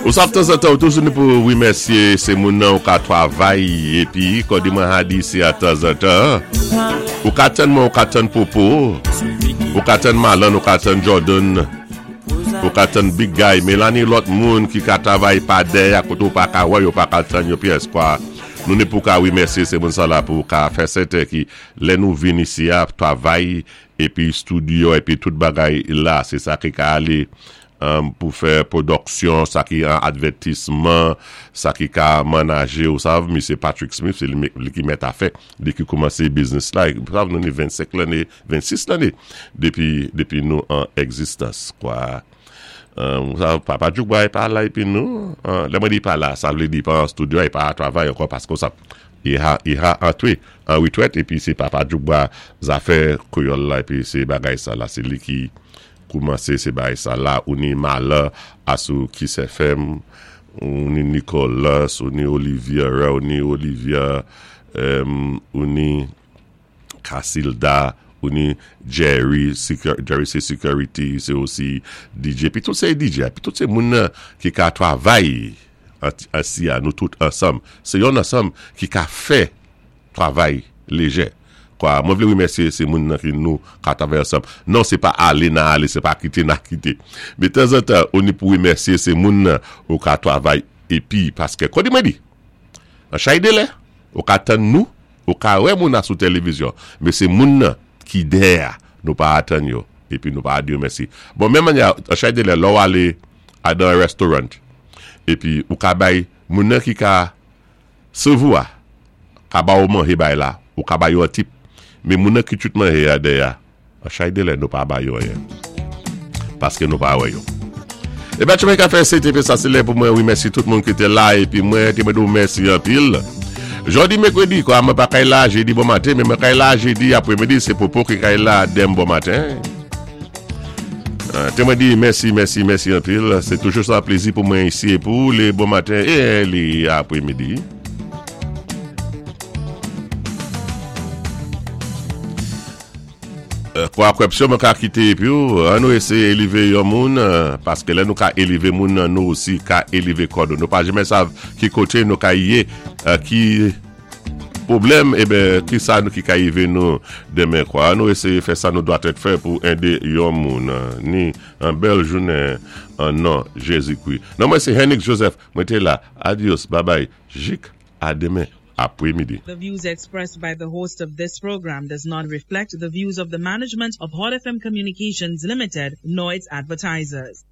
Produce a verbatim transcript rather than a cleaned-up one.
Ou sav tanzantan, ou toujou ni pou wimèsyé sé moun nan ou ka twavay épi kon di mwen ka di si a tanzantan. Ou ka tann mwen, ou ka tann Popo, ou ka tann Malan, ou ka tann Jordan, ou ka tann Big Guy, men la ni lòt moun ki ka travay pa dèyè koté ou pa ka wè, yo pa ka tann yo pyès kwa. Nou ni pou ka wimèsyé sé moun sa la pou ka fè sèten ki lè nou vin isi a travay épi studio épi tout bagay la, sé sa ki ka alé um, pou fè pwodiksyon, sa ki an advètisman, sa ki ka manaje ou sav, Misye Patrick Smith, sé li, li ki mèt afè, li ki koumansé business la, sav nou ni vennsenk lanné, vennsis lanné, dépi, dépi nou an egzistans, kwa. Um, sa, Papa Djoukba pa la épi nou, uh, lè mwen di pa la, sa vlé di pa an studio, i pa travay ankò paski sa, i ha, i ha antwé an witrèt, épi sé Papa Djoukba zafè kwéyòl la, épi sé bagay sa la, sé li ki koumansé sé bagay sa la, ou ni Mala asou Kiss F M, ou ni Nicolas, ou ni Olivier, ou ni Olivia, um, ou ni Casilda, ou ni Jerry, Secur- Jerry sé security, sé osi D J, pi tout sé D J, pi tout sé moun nan ki ka travay ansi a nou tout ansanm. Sé yon ansanm ki ka fè travay léjè. Kwa, mwen vlé wimèsyé sé moun nan ki nou ka travay ansanm. Non, sé pa alé nan alé, sé pa kité nan kité. Men tanzantan, ou ni pou wimèsyé sé moun nan ou ka travay épi, paski, kon di mwen di, an chay de lè, ou ka tann nou, ou ka wè moun nan sou télévizyon, men sé moun nan ki dèyè, nou pa atann yo, épi nou pa di yo mèsi. Bon, menm manyè, an chay de lè, lò ou alé a dan restoran, épi ou ka bay, moun nan ki ka sèvi ou a, ka ba ou manjé bay la, ou ka bay yo an tip, men moun nan ki tout manjé a dèyè, an chay de lè, nou pa bay yo anyen. Paski nou pa wè yo. É ben, mwen ka fè C T P sa, sé lè pou mwen wimèsi tout moun ki té la, épi mwen té mwen dou mèsi anpil. Jòdi mèkwédi, kwa mwen pa kay la jédi bon maten, men mwen kay la jédi apwémidi, sé Popo ki kay la denmen bon maten. Euh, té mwen di mèsi, mèsi, mèsi anpil. Sé toujou sa plézi pou mwen isi pou lé bon maten é lé apwémidi. Euh, Kwa kwèpsyon mwen ka kité épi ou, an nou éséyé élévé yon moun, euh, paski lè nou ka élévé moun nan, nou osi ka élévé kò nou. Nou pa janmè sav ki koté nou ka yé, euh, ki pwoblèm, eh ben, ki sa nou ki ka yivé nou denmen kwa. An nou éséyé fè sa nou dwa tèt fè pou édé yon moun, euh, ni an bèl jounen an non Jézi-Kwi. Non mwen sé Henrik Joseph, mwen té la. Adios, bye bye, jik a denmen apwémidi. The views expressed by the host of this program does not reflect the views of the management of Hot F M Communications Limited nor its advertisers.